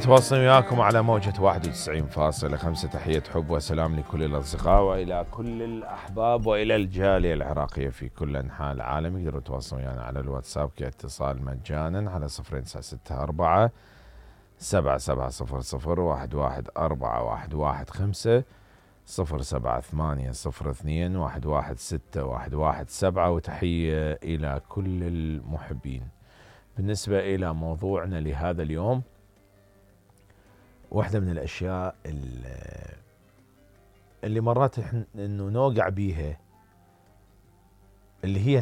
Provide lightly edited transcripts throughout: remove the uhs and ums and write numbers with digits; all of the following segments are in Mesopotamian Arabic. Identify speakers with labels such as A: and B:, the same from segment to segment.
A: متواصلين وياكم على موجة 91.5. تحية حب وسلام لكل الأصدقاء وإلى كل الأحباب وإلى الجالية العراقية في كل أنحاء العالم. يقدروا يتواصلون ويانا على الواتساب كاتصال مجانا على 0964 7700 11415 078 02 116 وتحية إلى كل المحبين. بالنسبة إلى موضوعنا لهذا اليوم، واحدة من الأشياء اللي مرات إنه نوقع بيها اللي هي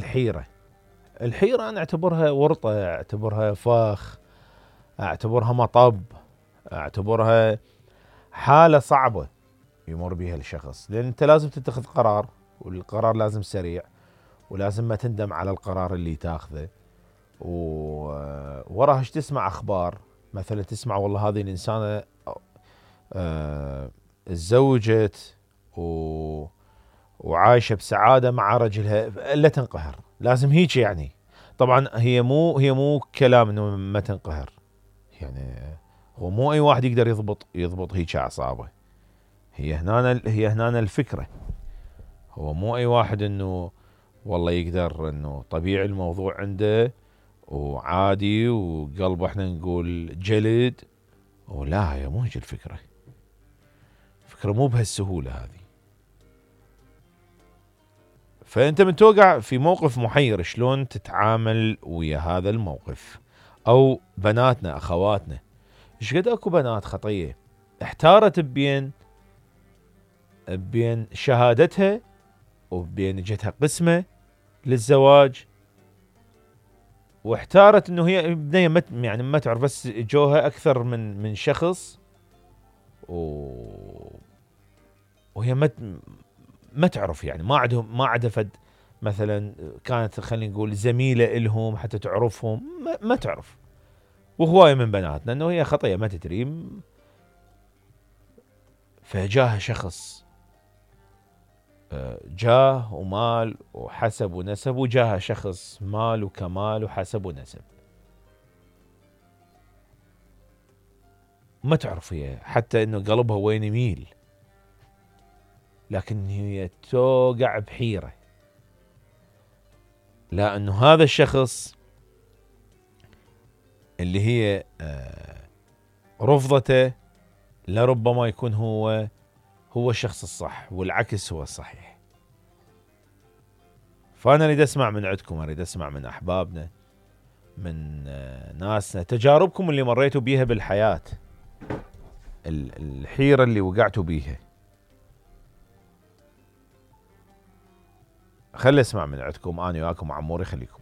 A: الحيرة أنا أعتبرها ورطة، أعتبرها فخ، أعتبرها مطب، أعتبرها حالة صعبة يمر بها الشخص، لأن أنت لازم تتخذ قرار، والقرار لازم سريع، ولازم ما تندم على القرار اللي تاخذه. ووراها تسمع أخبار، مثلا تسمع والله هذه الإنسانة تزوجت وعايشة بسعادة مع رجلها، إلا تنقهر. لازم هيك يعني. طبعا هي مو كلام إنه ما تنقهر، يعني هو مو أي واحد يقدر يضبط هيك أعصابه. هي هنا الفكرة. هو مو أي واحد إنه والله يقدر إنه طبيعي الموضوع عنده وعادي وقلبه احنا نقول جلد، ولا هي مو هيك الفكرة. الفكرة مو بهالسهولة هذه. فأنت من توقع في موقف محير، شلون تتعامل ويا هذا الموقف؟ أو بناتنا أخواتنا، إيش قد أكو بنات خطية احتارت بين شهادتها وبين جتها قسمة للزواج، واحتارت انه هي بنية ما تعرف، بس جوها اكثر من شخص وهي ما تعرف، يعني ما عدفت مثلا كانت خلينا نقول زميلة إلهم حتى تعرفهم، ما تعرف. وهواية من بناتنا انه هي خطية ما تدري، فجاها شخص جاه ومال وحسب ونسب، وجاها شخص مال وكمال وحسب ونسب. ما تعرف هي حتى انه قلبها وين يميل، لكن هي توقع بحيرة. لا انه هذا الشخص اللي هي رفضته لربما يكون هو الشخص الصح، والعكس هو الصحيح. فأنا أريد أسمع من عندكم، أريد أسمع من أحبابنا، من ناسنا، تجاربكم اللي مريتوا بيها بالحياة، الحيرة اللي وقعتوا بيها. خلي أسمع من عندكم. أنا وياكم عموري، خليكم.